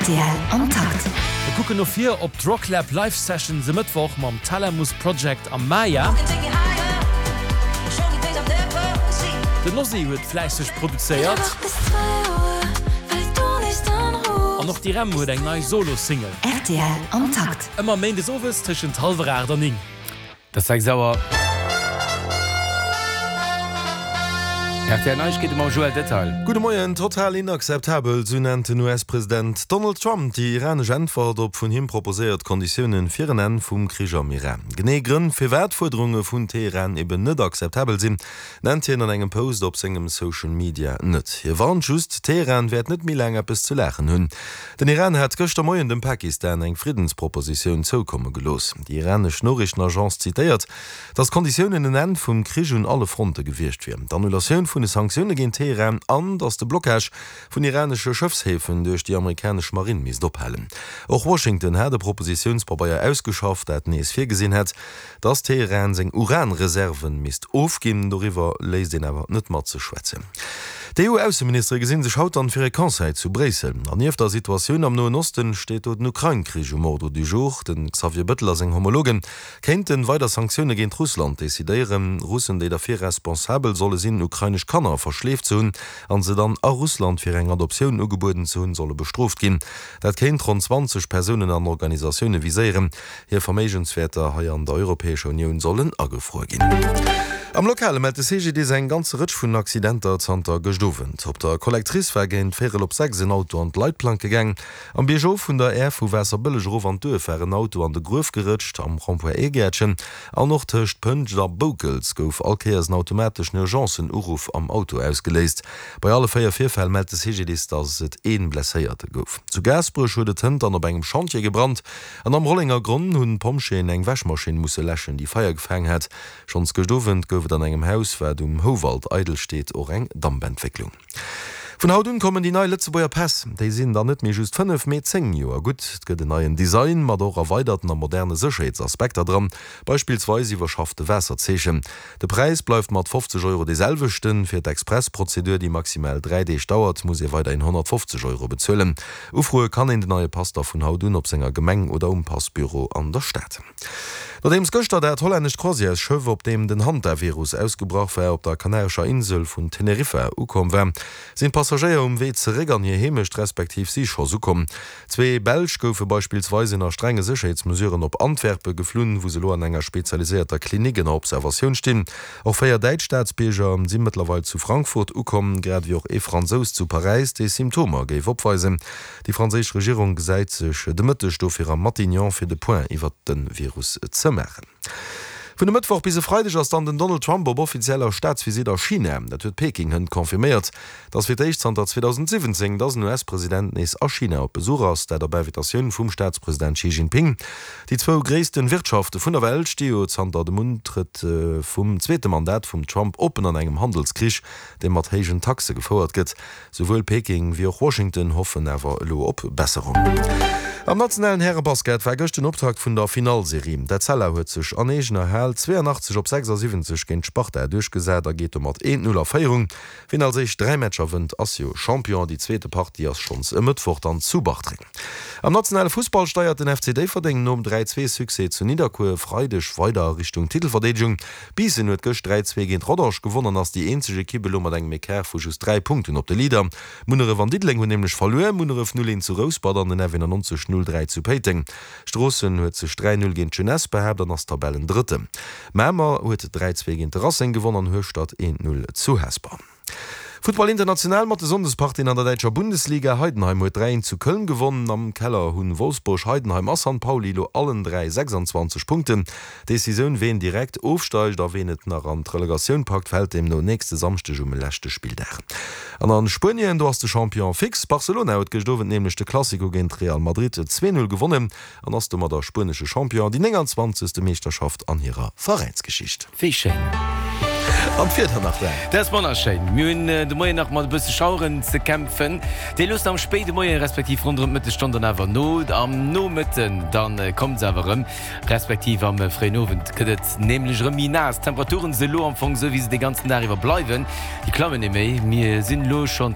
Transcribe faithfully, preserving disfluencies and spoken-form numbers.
Rtl am Takt. Mir kucken no vir op d'Rocklab Live Sessions e Mëttwoch mam Thalamus Project am Maya. Den Ozzy huet fläisseg produzéiert. An och d'Irem huet eng nei Solo-Single. Rtl am Takt. Ëmmer méindes owes tëschent hallwer aacht an néng. Et ass sechs Auer. Rtl Neiegkeete mam Joël Detail. Gudde Moien. Total inakzeptabel, sou nennt den U S-President Donald Trump déi iranesch Äntwert op vun him proposéiert Konditiounen fir en Enn vum Krich am Iran. Genee Grënn, firwat d'Fuerderunge vun Teheran eben net akzeptabel sinn, nennt hien an engem Post op sengem Social Media net. Hie warnt just, Teheran wäert net méi laang eppes ze laachen hunn. Den Iran hat gëschter Moien dem Pakistan eng Friddenspropositioun zoukomme gelooss. Déi iranesch Noriichtenagence zitéiert, datt d'Konditiounen en Enn vum Krich un alle Fronte gewiescht wier, d'Annulatioun vun de Sanktioune géint Teheran an datt de Blockage vun iranesche Schëffshäfen duerch déi amerikanesch Marinn misst ophalen. Och Washington hat e Propositiounspabeier ausgeschafft, dat nees virgesinn hätt, datt Teheran seng Uranreserven misst ofginn. Doriwwer léisst een awer net mat sech schwätzen. D'E U-Ausseministere gesinn sech haut dann fir e Conseil zu Bréissel. An nieft der Situatioun am Noen Osten steet do den Ukrain-Krich um Ordre du jour. De Xavier Bettel a seng Homologen kéinten weider Sanktioune géint Russland decidéieren. Russen, déi derfir responsabel solle sinn, ukrainesch Kanner verschleeft ze hunn an se dann a Russland fir eng Adoptioun ugebueden ze hunn, solle bestrooft ginn. Dat kéint ronn zwanzeg Persounen an Organisatioune viséieren. Hir Verméigenswäerter hei an der Europäescher Unioun sollen agefruer ginn. Am Lokale mellt de C G D I S eng ganze Rëtsch vun Accidenter zanter gëscht Owend. Op der Collectrice war géint véierel op sechs en Auto an d'Leitplanke gaang. Am Biergof vun der Aire vu Waasserbëlleg erof an d'Duerf war en Auto an de Gruef gerëtscht. Am Rond-point Aergäertchen an och tëscht Pënscht a Boukels gouf all Kéiers en automateschen Urgencen-Uruff am Auto ausgeléist. Bei alle véier Virfäll mellt de C G D I S, datt et ee Blesséierte gouf. Zu Gaasperech huet et hënt dann op engem Chantier gebrannt an am Rollengergronn hunn d'Pompjeeën eng Wäschmaschinn musse läschen, déi Feier gefaangen hat. Schonns gëscht Owend gouf et an engem Haus, wat um Houwald eidel steet, och eng Dampentwécklung. Vun haut un kommen déi nei Lëtzebuerger Päss. Déi sinn dann net méi just fënnef, mee zéng Joer gutt. Et gëtt en neien Design mat och erweiderten a moderne Sécherheetsaspekter dran, beispillsweis iwwerschaffte Waasserzeechen. De Präis bleift mat fofzeg Euro dee selwechten. Fir d'Express-Prozedur, déi maximal dräi Deeg dauert, muss ee weiderhin honnertfofzeg Euro bezuelen. Ufroe kann een den neie Pass da vun haut un op senger Gemeng oder um Passbüro an der Stad. Nodeems gëschter dat hollännescht Croisièresschëff, op deem den Hantavirus ausgebrach war, op der Kanarescher Insel vun Teneriffa ukomm war, sinn d'Passagéier um Wee zeréck an hir Heemecht, respektiv si scho ukomm. Zwee Belsch goufe beispillsweis ënner strenge Sécherheetsmesuren op Antwerpe geflunn, wou se elo an enger spezialiséierter Klinik ënner Observatioun stinn. Och véier däitsch Staatsbierger si mëttlerweil zu Frankfurt ukomm, grad ewéi och ee Fransous zu Paräis, dee Symptomer géif opweisen. Déi franséisch Regierung gesäit sech de Mëtteg dofir am Matignon fir de Point iwwert de Virus ze maachen. Vun e Mëttwoch bis e Freideg ass dann den Donald Trump op offizieller Staatsvisitt a China. Dat huet Peking hënt confirméiert. Et ass fir d'éischt zanter zweedausendsiwwenzéng, dass en U S-President nees a China op Besuch ass, dat op Invitatioun vum Staatspresident Xi Jinping. Déi zwou gréissten Wirtschafte vun der Welt sti jo zanter dem Untrëtt vum zweete Mandat vum Trump oppen an engem Handelskrich, dee mat héijen Taxe gefouert gëtt. Souwuel Peking wéi och Washington hoffen awer elo op Besserung. Am nationalen Härebasket war gëscht den Optakt vun der Finallserie. D'Etzella huet sech an eegener Hal zweeanachtzeg op sechsasiwwenzeg géint d'Sparta duerchgesat a geet domat eent Null a Féierung. Wien als éischt dräi Matcher wënnt, ass jo Champion. Déi zweete Partie ass schonns e Mëttwoch dann zu Bartreng. Am nationale Fussball steiert den F C Déifferdeng nom dräi zwee Succès zu Nidderkuer e Freideg weider a Richtung Titelverdeedegung. Biissen huet gëscht dräi zwee géint Rodange gewonn an ass déi eenzeg Ekipp elo mat engem Ecart vu just dräi Punkten op de Leader. Munneref an Diddeleng hunn nämlech verluer, Munneref null eent zu Rouspert an den F eenannonzeg null dräi zu Péiteng. Stroossen huet sech dräi null géint d'Jeunesse behaapt an ass Tabellendrëtten. Mamer huet dräi zwee géint de Racing gewonn an Hueschtert eent null zu Hesper. Futtball international mat de Sonndespartien an der däitscher Bundesliga, Heidenheim huet dräi eent zu Köln gewonnen. Am Keller hunn Wolfsburg, Heidenheim a San Pauli elo allen dräi sechsanzwanzeg Punkten. D'Decisioun ween direkt ofsteigt a ween et nach an d'Relegatioun packt fält deemno nächste Samschdeg um leschte Spilldag. An a Spuenien, do ass de Champion fix. Barcelona huet gëscht Owend nämlech de Clasico géint Real Madrid zwee null gewonnen an ass domadder spuenesche Champion, déi nénganzwanzegste Meeschterschaft an hirer Veräinsgeschicht. Wéi schéin! An d'Wieder nach dran. Dat ass wonnerschéin. Mir hunn de Moien nach mat e bësse Schaueren ze kämpfen. Déi loossen am spéide Moie respektiv ronderëm d'Mëttesstonn dann awer no. Am Nomëtten da kommt se awer erëm, respektiv am fréien Owend gëtt et nämlech erëm méi naass. D'Temperaturen si elo am Fong esou, wéi se de ganzen Dag iwwer bleiwen. Déi klammen net méi. Mir sinn elo schonn.